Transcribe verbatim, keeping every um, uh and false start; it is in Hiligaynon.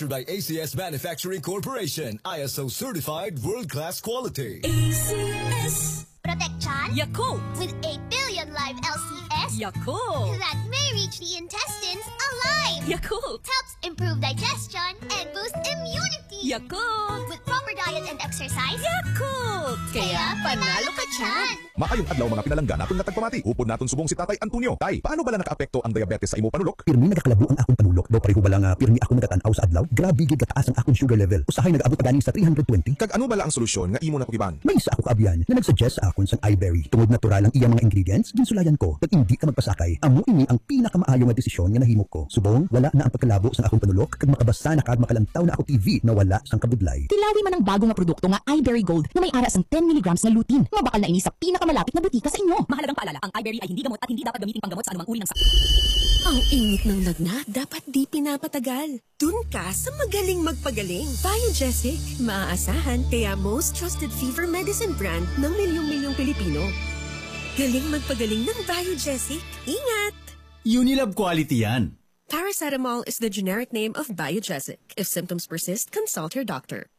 Manufactured by A C S Manufacturing Corporation, I S O certified world-class quality. A C S. Protect Chan Yakult. With a billion live L C S Yakult. That may reach the intestines alive. Yakult. Helps improve digestion and boost immunity. Yakult. With proper diet and exercise. Yakult. Kaya panalo ka, Chan. Maayong adlaw, mga pinalangga naton nga tagpamati. Upod naton subong si Tatay Antonio. Tay, paano bala nakaapekto ang diabetes sa imo panulok? Pirmi nagakalabo ang akon panulok. Daw pareho bala nga pirmi ako nagatan-aw sa adlaw. Grabe gid kataas ang akon sugar level. Usahay nagaabot pa gani sa three hundred twenty. Kag ano bala ang solusyon nga imo natukiban? May isa ako kaabyan nga nag-suggest sa akon sang iBerry. Tungod natural ang iya mga ingredients, ginsulayan ko. Kag indi ka magpasakay. Amo ini ang pinakamaayo nga desisyon nga nahimo ko. Subong, wala na ang pagkalabo sang akon panulok, kag makabasa na kag makalantaw na ako T V na wala sang kabudlay. Tilawi man ang bago nga produkto nga iBerry Gold nga may ara sang ten milligrams nga lutein. Mabakal na ini sa pinakamalapit nga butika sa inyo. Mahalagang paalala, ang iBerry ay hindi gamot at hindi dapat gamitin panggamot sa anumang uri ng sakit. Ang init ng lagnat dapat di pinapatagal. Dun ka sa magaling magpagaling. Biogesic, maaasahan, kaya most trusted fever medicine brand ng milyong-milyong Pilipino. Galing magpagaling ng Biogesic. Ingat! Unilab quality yan. Paracetamol is the generic name of Biogesic. If symptoms persist, consult your doctor.